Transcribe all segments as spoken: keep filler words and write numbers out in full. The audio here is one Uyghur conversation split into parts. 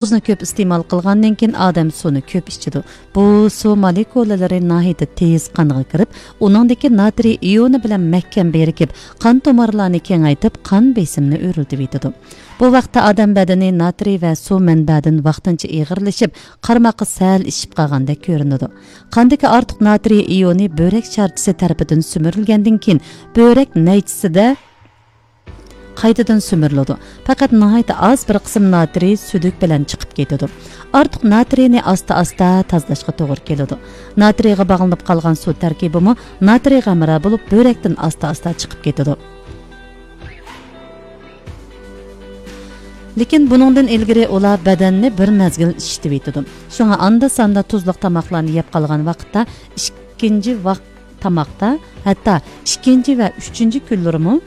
تۇزنى كۆپ ئىستېمال قىلغاندىن كېيىن ئادەم سۇنى كۆپ ئىچىدۇ. بۇ سۇ مولېكۇلىلىرى ناھايىتى تېز قانغا كىرىپ، ئۇنىڭدىكى ناترىي ئىيونى بىلەن مەھكەم بىرىكىپ، قان تومۇرلارنى كېڭەيتىپ، قان بېسىمىنى ئۆرلىتىۋېتىدۇ. بۇ ۋاقىتتا ئادەم بەدىنى ناترىي ۋە سۇ مەنبەدىن ۋاقتىنچە ئېغىرلىشىپ، قارىماققا سەل ئىششىپ قالغاندەك كۆرۈنىدۇ. قاندىكى ئارتۇق ناترىي ئىيونى بۆرەك شارچىسى تەرىپىدىن سۈمۈرۈلگەندىن كېيىن، بۆرەك نەيچىسىدە قايتىدىن سۈمۈرۈلىدۇ. پەقەت ناھايىتى ئاز بىر قىسىم ناترىي سۈدۈك بىلەن چىقىپ كېتىدۇ. ئارتۇق ناترىينى ئاستا-ئاستا تازىلاشقا توغرا كېلىدۇ. ناترىيغا باغلىنىپ قالغان سۇ تەركىبىمۇ ناترىيغا ھەمراھ بولۇپ، بۆرەكتىن ئاستا-ئاستا چىقىپ كېتىدۇ. لېكىن بۇنىڭدىن ئىلگىرى ئۇلار بەدەننى بىر مەزگىل ئىششىتىۋېتىدۇ. شۇڭا ئاندا-ساندا تۇزلۇق تاماقلارنى يەپ قالغان ۋاقىتتا ئىككىنچى ۋاق-، تاماقتا، ھەتتا ئىككىنچى ۋە ئۈچىنچى كۈنلىرىمۇ،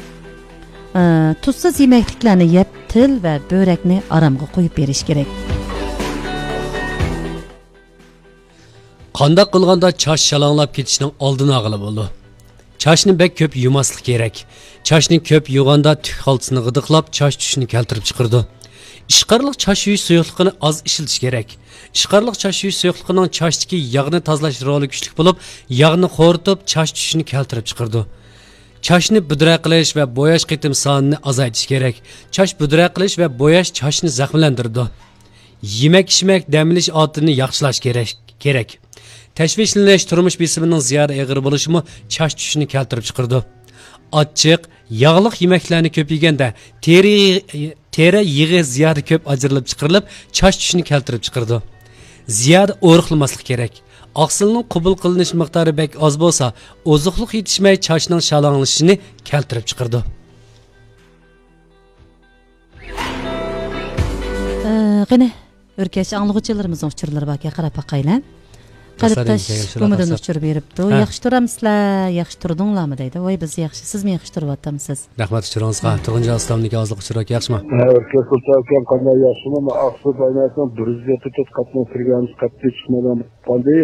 ئە، تۇزسىز يېمەكلىكلەرنى يەپ، تىل ۋە بۆرەكنى ئارامغا قويۇپ بېرىش كېرەك. قانداق قىلغاندا چاچ شالاڭلاپ كېتىشنىڭ ئالدىنى ئالغىلى بولىدۇ؟ چاچنى بەك كۆپ يۇماسلىق كېرەك. چاچنى كۆپ يۇغاندا تۈك خالتىسىنى غىدىقلاپ، چاچ چۈشۈشنى كەلتۈرۈپ چىقىرىدۇ. ئىشقارلىق چاچ يۇيۇش سۇيۇقلۇقىنى ئاز ئىشلىتىش كېرەك. ئىشقارلىق چاچ يۇيۇش سۇيۇقلۇقىنىڭ چاچتىكى ياغنى تازىلاش رولى كۈچلۈك بولۇپ، ياغنى خورىتىپ، چاچ چۈشۈشنى كەلتۈرۈپ چىقىرىدۇ. چاچنى بۈدرە قىلىش ۋە بوياش قېتىم سانىنى ئازايتىش كېرەك. چاچ بۈدرە قىلىش ۋە بوياش چاچنى زەخىملەندۈرىدۇ. يېمەك-ئىچمەك، دەم ئېلىش ئادىتىنى ياخشىلاش كېرەك، كېرەك. تەشۋىشلىنىش، تۇرمۇش بېسىمىنىڭ زىيادە ئېغىر بولۇشىمۇ چاچ چۈشۈشنى كەلتۈرۈپ چىقىرىدۇ. ئاچچىق، ياغلىق يېمەكلەرنى كۆپ يېگەندە تېرە، تېرە يېغى زىيادە كۆپ ئاجرىلىپ چىقىرىلىپ، چاچ چۈشۈشنى كەلتۈرۈپ چىقىرىدۇ. زىيادە ئورۇقلىماسلىق كېرەك. ئاقسىلنىڭ قوبۇل قىلىنىش مىقدارى بەك ئاز بولسا، ئوزۇقلۇق يېتىشمەي چاچنىڭ شالاڭلىشىشىنى كەلتۈرۈپ چىقىرىدۇ. ئە، قېنى، ئۆركەش ئاڭلىغۇچىلىرىمىزنىڭ ئۇچۇرلىرى باركەن، قاراپ باقايلى. قەرىپداش گۇمىدىن ئۇچۇر بېرىپتۇ. ھە. ياخشى تۇرامسىلەر، ياخشى تۇردۇڭلارمۇ دەيدۇ. ۋاي، بىز ياخشى، سىزمۇ ياخشى تۇرۇۋاتامسىز؟ رەھمەت ئۇچۇرىڭىزغا. تۇرغۇنجان ئىسلامدىكى ھازىرقى ئۇچۇر ئاكا ياخشىمۇ؟ ھە، ئۆركەش قۇلچى ئاكام قانداق، ياخشىمۇ؟ مەن ئاقسۇ بايناسىنىڭ بىر يۈز يەتتە تۆت قاتنىڭ كىرگەنمىز، قەتئىي چىقمايدىغان بولۇپ قالدى.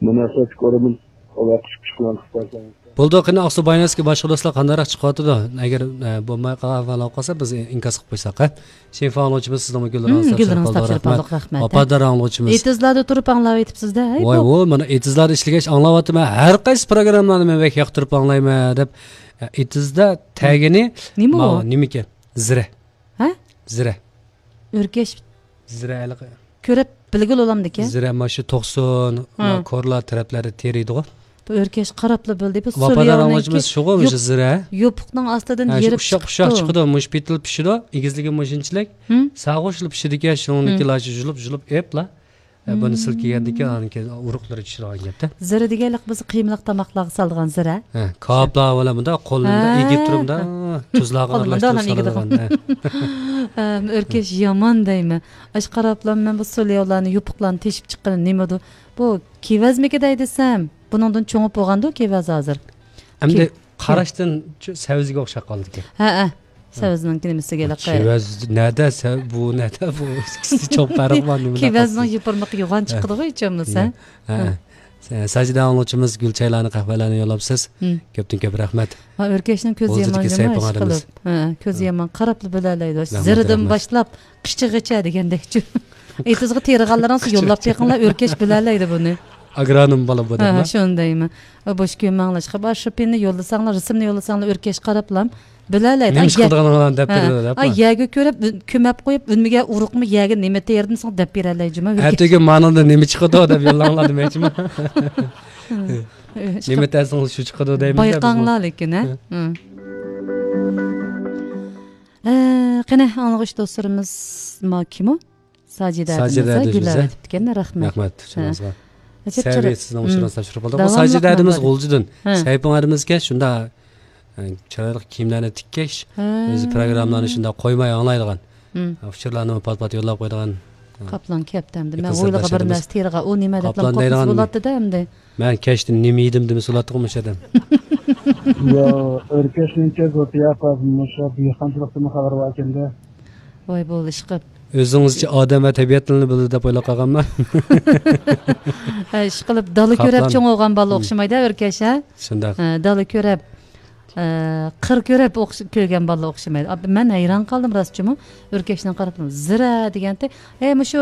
مۇناسىۋەتلىك ئورۇندىن ئۇلار قىسىپ چىقىۋالساڭىز. بولدى، قېنى ئاقسۇ بايناسكى باشقا دوستلار قانداقراق چىقىۋاتىدۇ؟ ئەگەر، ئە، بولماي قالغان ئەھۋال بولۇپ قالسا، بىز ئىنكاس قىلىپ قويساق، ھە؟ شېنفا ئاڭلىغۇچىمىز سىزنىڭمۇ گۈللىرىڭىزنى تاپشۇرۇپ قالدۇق، رەھمەت. ھە؟ ۋاپادار ئاڭلىغۇچىمىز. ئېتىزلاردا تۇرۇپ ئاڭلاۋېتىپسىز-دە، ھەي، ۋاي، بۇ. ۋو، مانا ئېتىزلاردا ئىشلىگەچ ئاڭلاۋاتىمەن. ھەر قايسى پروگراممىلارنى مەن بەك ياقتۇرۇپ ئاڭلايمەن دەپ، ئە، ئېتىزدا تەگىنى نېمە ئۇ؟ ماۋۇ نېمىكەن؟ زىرە. ھە؟ زىرە. ئۆركەش. زىرە ھېلىقى. كۆرۈپ بىلگىلى بولامدىكەن؟ زىرە مانا شۇ توقسۇن، ھە، كورلا تەرەپلەردە تېرىيدىغۇ. بۇ ئۆركەش قاراپلا بىلدى. بۇ ۋاپادار سولياۋنىڭكى ئاڭلىغۇچىمىز شۇغۇ، مۇشۇ يوپ-، زىرە. يوپۇقنىڭ ئاستىدىن ھە، شۇ يېرىپ ئۇششاق، ئۇششاق چىقىدۇ. چىقىدۇ. مۇشۇ پېتىل پىشىدۇ. ئېگىزلىكى مۇشۇنچىلىك. ھىم؟ ساغۇشلا پىشىدىكەن، شۇنىڭدىكى ھىم. لاچا يۇلۇپ، يۇلۇپ ئېپلا. ئە، بۇنى سىلكىگەندىن كېيىن، ئانىڭ كېيىن ئۇرۇقلىرى چۈشىدىغان گەپتە. زىرە دېگەنلىك بىز قىيمىلىق تاماقلارغا سالىدىغان زىرە. ھە، كاۋاپلار بىلەن بۇنداق قولنى بۇنداق ھە. ئېگىپ تۇرۇپ، مۇنداق تۇزلارغا قولنى ئارىلاشتۇرۇپ مۇنداق ئېگىدۇ. سالىدىغان. ھە. ئەم، ئۆركەش يامان دەيمەن. ئاشۇ قاراپلا مەن بۇ سولياۋلارنى، يوپۇقلارنى تېشىپ چىققىنى نېمىدۇ؟ بۇ كېۋەزمىكى دەي دېسەم، بۇنىڭدىن چوڭىيىپ بولغاندۇ كېۋەز ھازىر. ئەمدى كېۋ-، قاراشتىن چۈ-، سەۋزىگە ئوخشاپ قالدىكەن. ھە، ھە. سەۋزىنىڭكى نېمىسىگە ھېلىقى. كېۋەز نەدە، سە-، بۇ نەدە، بۇ ئىككىسى چوڭ پەرق بار، نېمە كېۋەزنىڭ يوپۇرمىقى يوغان چىقىدىغۇ ھېچ بولمىسا. ھە. ھە. ھە. سە-، ساجىدە ئاڭلىغۇچىمىز گۈل چايلارنى، قەھۋەلەرنى يوللاپسىز. ھىم. كۆپتىن كۆپ رەھمەت. ھا، ئۆركەشنىڭ كۆزى يامان جۇمۇ، ئىشقىلىپ. ھە، كۆزى يامان، قاراپلا بىلەلەيدۇ. رەھمەت، زىرىدىن رەھمەت. باشلاپ قىچىغىچە دېگەندەكچۇ. ئېتىزغا تېرىغانلىرىڭىزنى يوللاپ بېقىڭلار، ئۆركەش بىلەلەيدۇ بۇنى. ئاگرونوم بالا بۇ دەپ. ھە، شۇنى دەيمەن. بوش كۆيمەڭلار، ئىشقىلىپ، ئاشۇ پېنى يوللىساڭلار، رىسىمنى يوللىساڭلار، ئۆركەش قاراپلا بىلەلەيدۇ. نېمە ئىش قىلىدىغانلىقىنى دەپ بېرىدۇ دەپ. ئاي، يەرگە كۆرۈپ، كۆمەپ قويۇپ، ئۈنمىگەن ئۇرۇقمۇ يەرگە نېمە تېرىدىن سوڭ دەپ بېرەلەي جۇما. ئەتىگۈن مانىڭدا نېمە چىقىدۇ دەپ يوللاڭلار دېمەكچىمەن. نېمە تەرسىڭىز شۇ چىقىدۇ دەيمىز. بايقاڭلار لېكىن، ھە؟ ھە. ئە، قېنى، ئاڭلىغۇچ دوستلىرىمىز ما كىمۇ؟ ساجىدە ساجىدە ھەدىمىزە ئەدىمىزە. گۈل ئەۋەتىپتىكەن، رەھمەت. رەھمەت، ھە. ئۇچۇرىڭىزغا. ئەجەب سەۋىيە چىراي-، سىزنىڭ ھىم. ئۇچۇرىڭىزنى تاپشۇرۇپ قالدۇق. بۇ داۋاملىق ساجىدە ھەدىمىز ماڭىدۇ. غۇلجىدىن. ھە. سەيپىڭ ھەدىمىزكەن شۇنداق، ئە، چىرايلىق كىيىملەرنى تىككەچ، ھە. ئۆزى پروگراممىلارنى شۇنداق قويماي ئاڭلايدىغان. ھىم. ئۇچۇرلارنى پات-پات يوللاپ قويىدىغان. قاپلان كەپتۇ ئەمدى. مەن ھويلىغا بىر نەرسە تېرىغان، ئۇ نېمە دەپلا قاپلان قورقۇنچ دەيدىغان بولاتتى-دە ئەمدى. مەن كەچتە نېمە يېدىم دېمىسە بولاتتىغۇ مۇشۇ ئادەم. يا، ئۆركەشنىڭكى زوتىيا قاز مۇشۇ دېھقانچىلىقتىنمۇ خەۋەر باركەندە. ۋاي بولدى ئىشقىلىپ. ئۆزىڭىزچە ئادەم ۋە تەبىئەتنى بىلىدۇ دەپ ئويلاپ قالغانمەن. ھە، ئىشقىلىپ دالا كۆرەپ قاپلان. چوڭ بولغان بالا ئوخشىمايدۇ ئۆركەش، ھە؟ شۇنداق. ھە، دالا كۆرەپ. ئە، قىر كۆرۈپ ئوخش-، كۆرگەن بالىلار ئوخشىمايدۇ. ئا، مەن ھەيران قالدىم راستچىمۇ. ئۆركەشنىڭ قارىپىمۇ زىرە دېگەنتى. ئەي، مۇشۇ